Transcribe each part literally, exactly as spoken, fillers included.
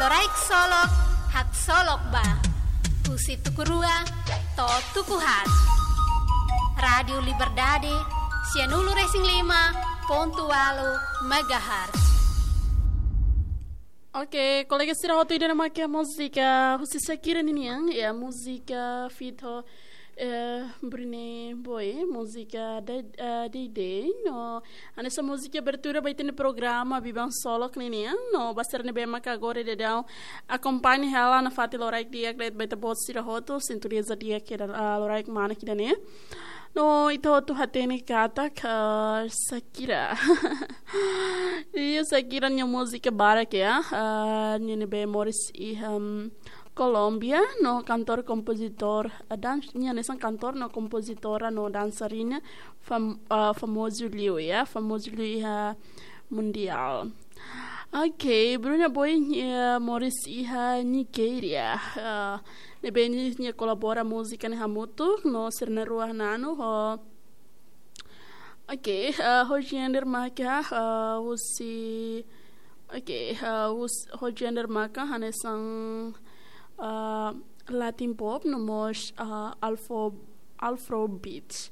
Loraik Solok, haksolok ba. Husi tuku rua to'o tuku haat. Rádiu Liberdade, sianulu-resin-lima pontu ualu megahertz. Oke, kolega sira hotu, ida-ne'e mak múzika husi Shakira ninian, ya, múzika feat ho, eh, Bruno Boy, múzika Day, eh, Day Day, no, hanesan múzika abertura ba ita-nia programa Biban Solok ninian, no, ba sira ne'ebé mak agora daudaun akompaña hela nafatin loraik di'ak de'it ba ita-boot sira hotu, sintoniza di'ak hela, ah, loraik manas ida-ne'e. No, ita hotu hatene katak, ah, Shakira. Iya, Shakira nia múzika barak ya. Ah, nia ne'ebé moris iha, mm, Kolómbia, no kantór, kompozitór, ah, dan-, nia hanesan kantór no kompozitora no dansarina fam-, ah, famozu liu ya, famozu liu iha mundiál. Oke, Bruno Boy, eh, moris iha Nigéria. Eh, ne'ebé nia, nia kolabora múzika ne'e hamutuk no sira na'in-rua na'in-unu ho. Oke, eh, ho genre maka, eh, husi, oke, eh, hus-, ho genre maka hanesan, eh, Latin pop no mós, eh, Afro Afrobeat.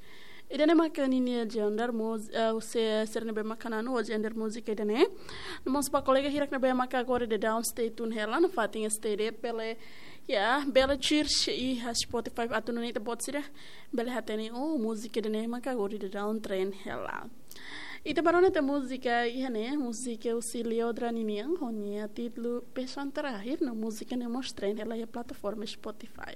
Ida-ne'e maka ninia genre múz-, eh, se-, sira ne'ebé maka na'in-unu ho genre múzika ida-ne'e. No mós ba kolega hirak ne'ebé maka agora daudaun stay tune hela nafatin S T D bele, ya, bele search iha Spotify atu nune'e ita-boot sira bele hatene, oh, múzika ida-ne'e maka agora daudaun trend hela. Ita bá rona tan múzika iha ne'e, múzika husi Liodra ninian, ho nia títulu Pesan Terakhir, no múzika ne'e mós trend hela iha plataforma Spotify.